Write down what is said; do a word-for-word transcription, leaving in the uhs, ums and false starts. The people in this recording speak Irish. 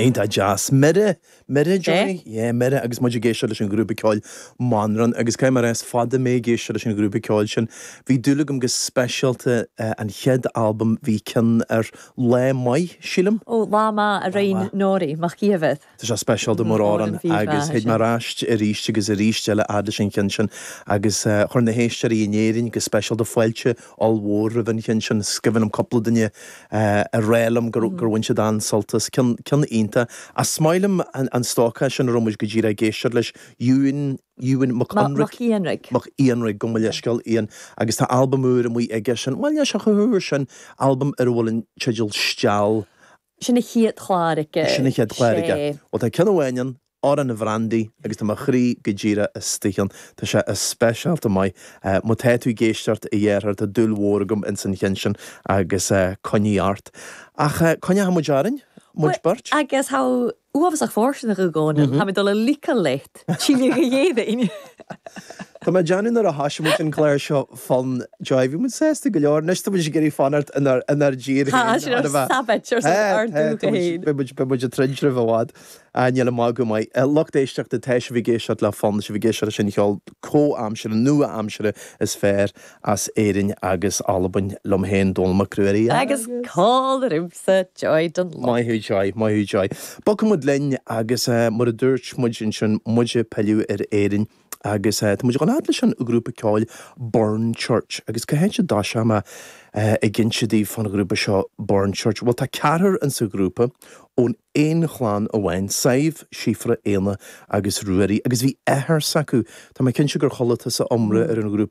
Iontach deas. Mire, Mire Joy? Yeah, Mire agus muid ag éisteacht leis an ghrúpa ceoil Manran agus caithfidh mé a rá is fada mé ag éisteacht leis an ghrúpa ceoil sin. Bhí dúil agam go speisialta an chéad albam bhí ceann ar Lá Maith, sílim. Ó Lá Maith a Raon Nóirí, Mac Ciabhith. Tá sé speisialta mar amhrán agus théid mé ar ais arís agus arís eile fhad leis an cheann sin agus chuir na héisteoirí in Éirinn go speisialta fáilte ollmhór roimh an cheann sin. Is cuimhin liom cúpla duine a rá liom gur gur bhain siad an-sult as ceann ceann iontach. Is maith liom an an stócach sin a raibh muid go díreach ag éisteacht leis Ewan Ewan Mac Mac Ianraigh. Mac Ianraigh gabh mo leithscéal Ian agus tá albam úr amuigh aige sin bhuel níl sé chomh húr sin albam ar a bhfuil an teideal Steall. Sin a chéad chlár aige. Sin a chéad chlár aige. Bhuel tá ceann amháin ann, Amhrán an Bhrandaí agus tá mo chroí go díreach istigh ann. Tá sé speisialta maith. Má tá tú ag éisteacht a dheartháir tá dúil mhór agam ins an cheann sin agus coinnigh ort. Ach coinneoidh muid orainn, muid beirt. Agus tá uafásach fóirsteanach i gcónaí, tá mé dul a ligean leat, síle go dhéanainn. Tá mé ag déanamh nuair a thosaigh muid an clár seo fán Joy, bhí muid sásta go leor, anois tá muid ag iarraidh fanacht inár inár dtír féin. Tá sin ar savage ar son ár dúiche féin. Beidh muid beidh muid ag troid roimh i bhfad. Níl an magadh maith. Lucht éisteachta, tá sibh ag éisteacht le Fonn, sibh ag éisteacht leis an cheol comhaimseartha, nua-aimseartha is fearr as Éirinn agus Albain, liom féin, Dónall Mac Ruairí. Agus cáil ormsa, Joy Dunlop. Maith thú Joy, maith thú Joy. Bogfaidh muid linn agus mar a dúirt muid ansin, muid ag pilleadh ar Éirinn agus tá muid ag dul fhad leis an ghrúpa ceoil Burn Church agus cá háit a dtoiseoidh mé ag inse daoibh fán ghrúpa seo Burn Church? Bhuel tá ceathrar insa ghrúpa ón aon chlann amháin, Sadhbh, Síofra, Éanna agus Ruairí agus bhí athair s'acu, tá mé cinnte gur chuala tusa iomrá ar an ghrúpa